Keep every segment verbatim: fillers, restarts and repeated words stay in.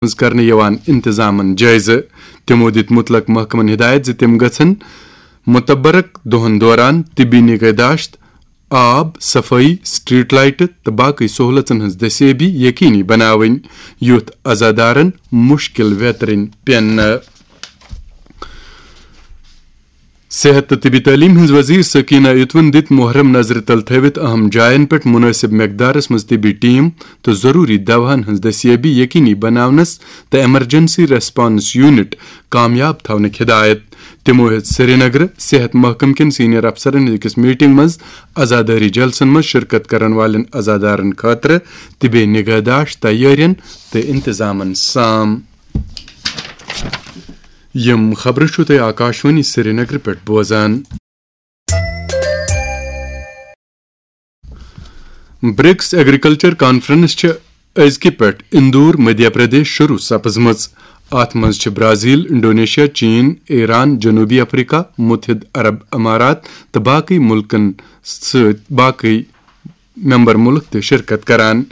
منٛز کرنہٕ یِوان انتظامن جٲیزٕ۔ تِمو دِتۍ مُتلق محکمن ہدایت زِ تِم گژھن متبرک دۄہن دوران طبی نگہداشت، آب، صفٲیی، سٹریٹ لائٹہٕ تہٕ باقٕے سہولژن ہٕنٛز دستیٲبی یقینی بناوٕنۍ، یُتھ عزادارن مُشکل ویترٕنۍ پیٚن نہٕ۔ صحت تہٕ طبی تعلیٖم ہٕنٛز وزیر سکینہ اتوَن دِتۍ محرم نظرِ تل تھٲوِتھ اہم جاین پٮ۪ٹھ مناسب مقدارس منٛز طبی ٹیم تہٕ ضروری دواہن ہٕنٛز دستیٲبی یقینی بناونس تہٕ ایمرجنسی ریسپانس یونٹ کامیاب تھاونٕکۍ ہدایت۔ تِمو ہیٚژ سرینگرٕ صحت محکمہٕ کٮ۪ن سینئر افسرن ہٕنٛدِ أکِس میٹنگ منٛز عزادٲری جلسن منٛز شرکت کرن والٮ۪ن عزادارن خٲطرٕ طبی نگہداشت تیٲرین تہٕ انتظامن سام۔ یِم خبرٕ چھِو تُہۍ آکاشوانی سرینگرٕ پٮ۪ٹھ بوزان۔ برکس ایگریکلچر کانفرنس چھِ أزکہِ پٮ۪ٹھ اندور، مدھیہ پردیش شروع سپزمٕژ۔ اتھ منٛز چھِ برازیل، انڈونیشیا، چین، ایران، جنوبی افریقہ، متحدہ عرب امارات تہٕ باقٕے مُلکن سۭتۍ باقٕے ممبر مُلک تہِ شرکت کران۔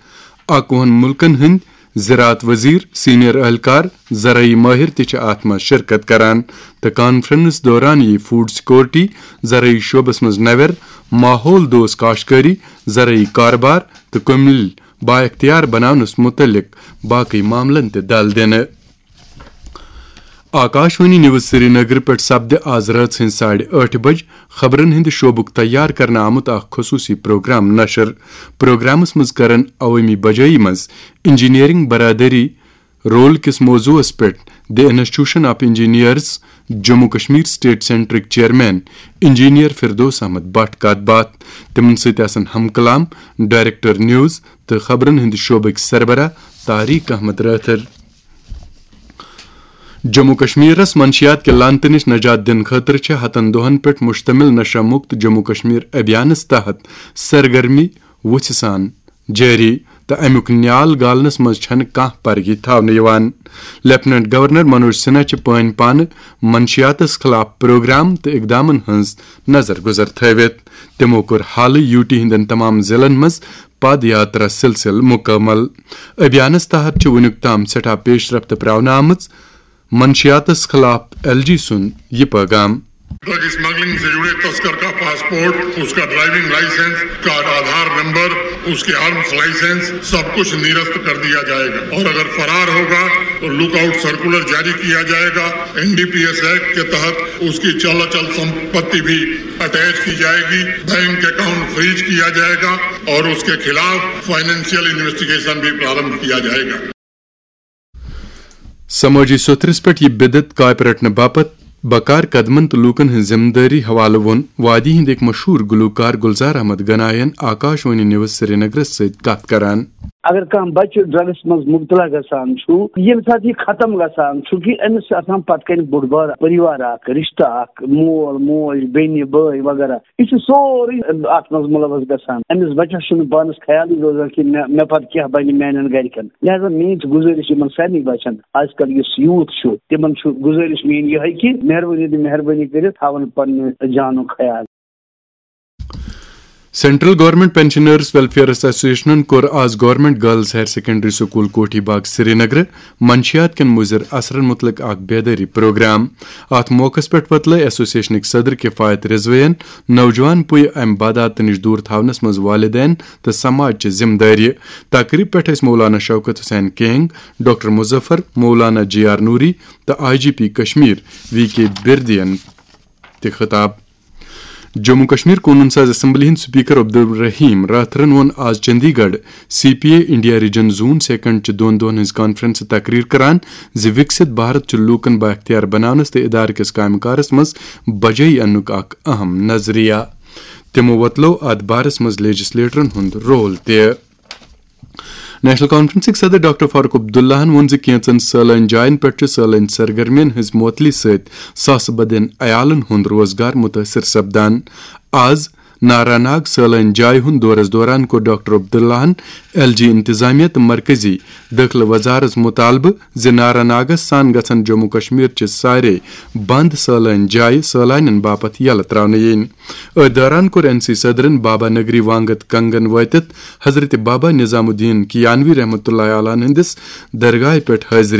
اکوُہن مُلکن ہٕنٛدۍ زراعت وزیر، سینئر اہلکار، زرعی ماہر تہِ چھِ اتھ منٛز شرکت کران تہٕ کانفرنس دوران یِیہِ فوڈ سیکورٹی، زرعی شعبس منٛز نوٮ۪ر، ماحول دوست کاشتکاری، زرعی کاربار تہٕ کمِل بااختیار بناونس متعلق باقٕے معاملن تہِ دل دِنہٕ۔ آکاشوانی نیوز سرینگر پٮ۪ٹھ سپدِ آز رٲژ ہٕنٛزِ ساڑِ ٲٹھِ بجہِ خبرن ہٕنٛدِ شعبُک تیار کرنہٕ آمُت اکھ خصوٗصی پروگرام نشر۔ پروگرامس منٛز کرن عوٲمی بجٲیی منٛز انجینئرنگ برادری رول کِس موضوعس پٮ۪ٹھ the institution of engineers Jammu Kashmir state سینٹرٕکۍ چیئرمین انجینئر فردوس احمد بٹ کتھ باتھ۔ تِمن سۭتۍ آسن ہم کلام، ڈائریکٹر نیوز تہٕ خبرن ہٕنٛدِ شعبٕکۍ سربراہ طارق احمد رٲتھر۔ جموں کشمیرس منشیات کہِ لعنتہٕ نِش نجات دِنہٕ خٲطرٕ چھِ ہتن دۄہن پٮ۪ٹھ مشتمل نشہ مکت جموں کشمیر ابھیانس تحت سرگرمی وُژھِ سان جٲری تہٕ امیُک نیال گالنس منٛز چھنہٕ کانٛہہ پرگی تھاونہٕ یِوان۔ لیفٹیننٹ گورنر منوج سنہا چھِ پٲنۍ پانہٕ منشیاتس خلاف پروگرام تہٕ اقدامن ہٕنٛز نظر گزر تھٲوِتھ۔ تِمو کوٚر حالٕے یوٗ ٹی ہٕنٛدٮ۪ن تمام ضلعن منٛز پد یاترا سلسلہٕ مکمل۔ ابھیانس تحت چھِ وُنیُک تام سٮ۪ٹھاہ پیش رفت پراونہٕ آمٕژ۔ منشیاتس خلاف ایل جی سُنٛد یہِ پیغام۔ ڈرگ اسمگلنگ سے جڑے تسکر کا پاسپورٹ، اس کا ڈرائیونگ لائسنس، اس کا آدھار نمبر، اس کے آرمز لائسنس، سب کچھ نرست کر دیا جائے گا اور اگر فرار ہوگا تو لک آؤٹ سرکولر جاری کیا جائے گا۔ N D P S act کے تحت اس کی چل اچل سمپتی بھی اٹیچ کی جائے گی، بینک اکاؤنٹ فریز کیا جائے گا اور اس کے خلاف فائنینشیل انویسٹیگیشن بھی پرارمبھ کیا جائے گا۔ سمٲجی سوٚتھرِس پٮ۪ٹھ یہِ بدعت کاپہِ رٹنہٕ باپتھ بکار قدمن تہٕ لوٗکن ہٕنٛز ذمہٕ دٲری حوالہٕ ووٚن وادی ہٕنٛدۍ أکۍ مشہوٗر گلوکار گلزار احمد گناین آکاش وانی نیوز سرینگرس سۭتۍ کتھ کران۔ اگر کانٛہہ بچہٕ ڈرگس منٛز مبتلا گژھان چھُ، ییٚمہِ ساتہٕ یہِ ختم گژھان چھُ کہِ أمِس چھُ آسان پتہٕ کنہِ بوٚڑ بار پریوار اکھ، رشتہٕ اکھ، مول، موج، بیٚنہِ، بٲے وغیرہ۔ یہِ چھُ سورُے اتھ منٛز مُلوث گژھان۔ أمِس بچس چھُنہٕ پانس خیالٕے روزان کہِ مےٚ مےٚ پتہٕ کیٛاہ بنہِ میانٮ۪ن گرِکٮ۪ن۔ لہذا میٲنۍ چھِ گُزٲرِش یِمن سارنٕے بچن، از کل یُس یوٗتھ چھُ، تِمن چھُ گُزٲرِش میٲنۍ یِہے کہِ مہربٲنی تہٕ مہربٲنی کٔرِتھ تھاون پننہِ جانُک خیال۔ سینٹرل گورنمنٹ پینشنرز ویلفیئرز ایسوسیشنن کوٚر آز government girls higher secondary school Kothi Bagh سرینگرٕ منشیات کٮ۪ن مُضر اثرن مُتعلق اکھ بیدٲری پروگرام۔ اتھ موقعس پٮ۪ٹھ وۄتلٲے ایسوسیشنٕکۍ صدر کفایت رضویَن نوجوان پُیہِ امہِ بدعاتہٕ نِش دوٗر تھاونس منٛز والدین تہٕ سماج چہِ ذمہٕ دٲری۔ تقریب پٮ۪ٹھ ٲسۍ Maulana Shaukat Hussain Keng, doctor Muzaffar, Maulana G R Noori تہٕ I G P Kashmir V K بردین تہِ خطاب۔ جموں کشمیر قونوٗن ساز اسمبلی ہٕنٛدۍ سپیکر عبدالرحیم راتھرن ووٚن آز Chandigarh C P A India region zone second چہِ دۄن دۄہن ہٕنٛز کانفرنسہٕ تقریر کران زِ وکست بھارت چھُ لوٗکن بااختیار بناونس تہٕ ادارٕ کِس کامہِ کارس منٛز بجٲیی اننُک اکھ اہم نظریہ۔ تِمو وۄتلوو اتھ بارس منٛز لیجسلیٹرن ہُنٛد رول تہِ۔ نیشنل کانفرنسٕکۍ صدر ڈاکٹر فاروق عبداللہن ووٚن زِ کینژن سٲلٲنۍ جاین پٮ۪ٹھ چھُ سٲلٲنۍ سرگرمین ہٕنٛز معطلی سۭتۍ ساسہٕ بدٮ۪ن عیالن ہُنٛد روزگار مُتٲثر سپدان۔ آز نارا ناگ سٲلٲنۍ جایہِ ہُنٛد دورس دوران کوٚر ڈاکٹر عبداللہن ایل جی انتظامیہ تہٕ مرکزی دٲخلہٕ وزارس مطالبہٕ زِ نارا ناگس سان گژھن جموں کشمیر چہِ سارے بند سٲلٲنۍ جایہِ سٲلانٮ۪ن باپتھ یلہٕ تراونہٕ یِنۍ۔ أتھۍ دوران کوٚر این سی صدرن بابا نگری وانگت کنگن وٲتِتھ حضرت بابا نظام الدین کیانوی رحمتہ اللہ علیہ ہٕنٛدِس درگاہہِ پٮ۪ٹھ حٲضری